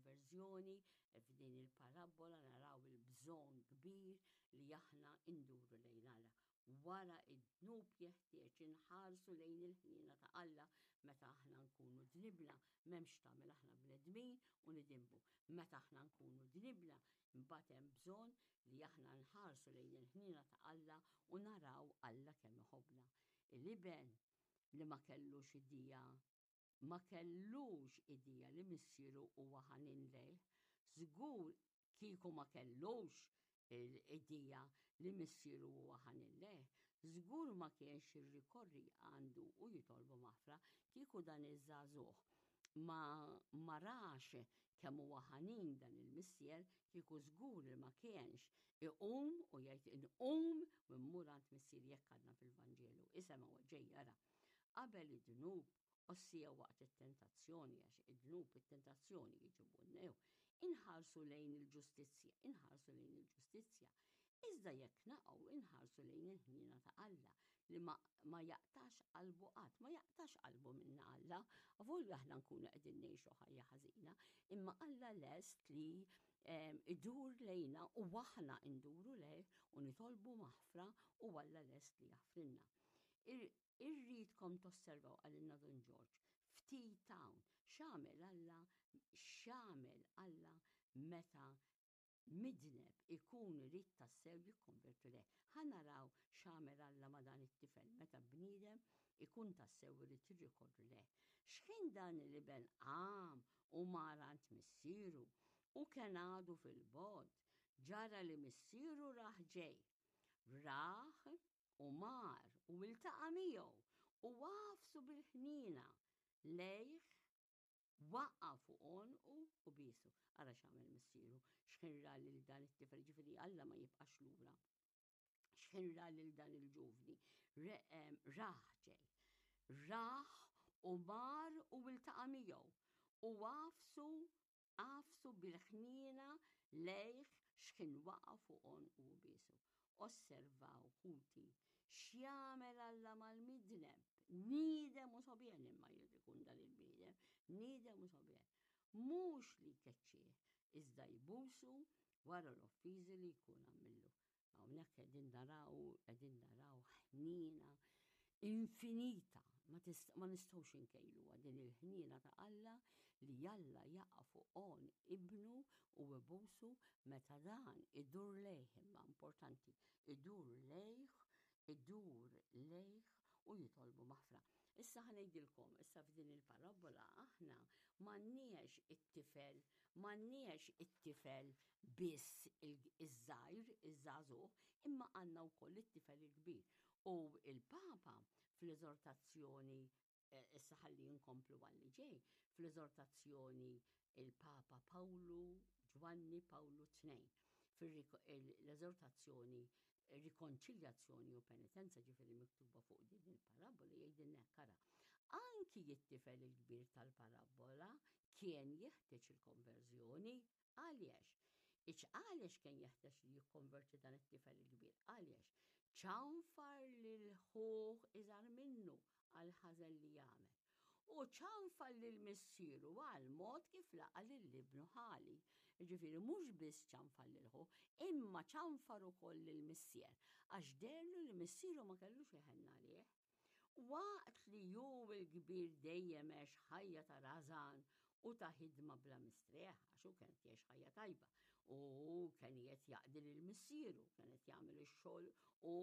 il-konverżjoni, f'din il-parabbola naraw il-bżonn kbir li aħna nduru lejn Alla. Wara id-dnub jeħtieġ inħarsu lejn il-ħniena ta' Alla meta aħna nkunu dnibna, m'hemmx tagħmel aħna bnedmin u nidinbu. Meta aħna nkunu dnibna, imbagħad hemm bżonn li aħna nħarsu lejn il-ħniena ta' Alla u naraw Alla kemm iħobbna. Il-iben li ma kellux idea ma kellux idea li missieru huwa ħanin lejh, żgur kieku ma kellux l-idea li missieru huwa ħanin lejh, żgur ma kienx jirrikorri għandu u jitolbu maħfra kieku dan iż-żagħżugħ ma ma rax kemm huwa ħanin dan il-missier kieku żgur li ma kienx iqum u jgħid inqum u mmur għand missier jekk għadna fil-Vanġelu. Isemgħu ġej jara. Qabel id-dnub, ossija waqt it-tentazzjoni, għax id-dnub it-tentazzjoni jiġibunnew, inħarsu lejn il-ġustizzja, inħarsu lejn il-ġustizzja. Iżda jekk naqgħu inħarsu lejn il-ħniena ta' Alla li ma, ma jaqtax qalbu qatt, ma jaqtax qalbu minna Alla, avolja aħna nkunu qegħdin ngħixu ħajja ħażina, imma Alla lest li ehm, idur lejna u aħna nduru lejh u nitolbu maħfra u Alla lest li jaħfrilna. Irridkom tosservaw qalilna Dun Ġorġ, ftit hawn, x'għamel Alla, x'għamel Alla meta midneb ikun irid tassew jikkonverti lejh. Ħa naraw x'għamel Alla ma' dan it-tifel meta bniedem ikun tassew irid jirrikorri lejh. X'ħin dan l-iben qam u mar għand missieru u kien għadu fil-bogħod, ġara li missieru rah ġej. Rah U mar u iltaqa' miegħu u għafsu bil-ħniena lejh, waqa' fuq għonqu u biesu. Ara x'għamel missieru, x'ħin ra lil dan it-tifel, ġifieri Alla ma jibqax lura. X'ħin ra lil dan il-ġuvni, rah ġej. Rah u mar u iltaqa' miegħu u għafsu Għafsu bil-ħniena lejh x'ħin waqa' fuq għonqu u biesu. Osservaw, ħuti, x'jagħmel Alla mal-midneb. Niedem u sogħbien imma jrid ikun dan il-bniedem. Niedem u sogħbien. Mhux li jkeċċih, iżda jbusu wara l-offiżi li jkun għamillu. Hawnhekk qegħdin naraw, qegħdin naraw ħniena infinita, ma, ma nistgħux inkejluha din il-ħniena ta' Alla li Alla jaqa' fuq on ibnu u ibusu meta dan idur lejh imma importanti, idur lejh, idur lejh u jitolbu maħfra. Issa ħanejdilkom, issa f'din il-parabola aħna m'għandniex it-tifel, m'għandniex it-tifel biss iż-żgħir, iż-żagħżugħ, imma għandna wkoll it-tifel il-kbir. U il-Papa fl-eżortazzjoni eh, issa ħalli nkomplu għalli ġej, fl-eżortazzjoni il-Papa Pawlu Ġwanni Pawlu II fil-eżortazzjoni rikonċiljazzjoni u penitenza ġifieri miktuba fuq din il-parabbola jgħidilna hekk ara. Anki it-tifel il-kbir tal-parabbola kien jeħtieġ il-konverżjoni għaliex? Iċ għaliex kien jeħtieġ li jikkonverti dan it-tifel il-kbir? Għaliex? Ċanfar lil ħuh iżgħar minnu għal ħażen li jagħmel. U ċanfar lil missieru għal mod kif laqa' lil ibnu ħali. Jiġifieri mhux biss ċanfar lil ħuh, imma ċanfar ukoll lil missier, għax deherlu li missieru ma kellux iħenn għalih. Waqt li hu l-kbir dejjem għex ħajja ta' rażan u ta' ħidma bla mistrieħ, għax hu kien qed jgħix ħajja tajba u kien qed jaqdi lil missieru, kien qed jagħmel ix-xogħol u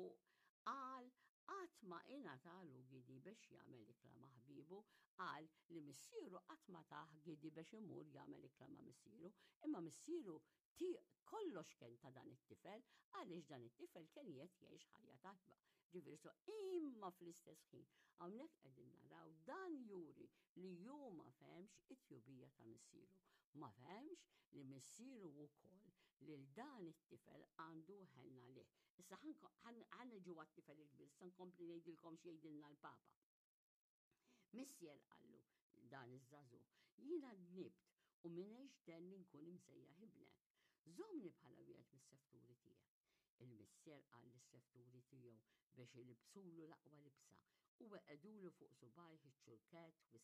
qal Qatt ma ingħatalu gidi biex jagħmel ikla ma' ħbiebu. Qal li missieru qatt ma tah gidi biex imur jagħmel ikla ma' missieru, imma missieru kollox kien ta' dan it-tifel għaliex dan it-tifel kien qiegħed jgħix ħajja tajba. Ġifieri so imma fl-istess ħin hawnhekk qegħdin naraw dan juri li hu ma fehmx it-tjubija ta' missieru. Ma fehmx li missieru wkoll lil dan it-tifel għandu ħenn għalih. Issa ħan niġu għat-tifel il-kbir, issa nkompli ngħidilkom x'jgħidilna l-Papa. Missier qallu dan iż-żagħżugħ, jiena dnibt u m'iniex den li nkun imsejjaħ ibnek. Żommni bħala wieħed mis-sefturi tiegħek. Il-missier qal lis-sefturi tiegħu biex ilibsulu l-aqwa libsa u weqedulu fuq subajh iċ-ċurkett u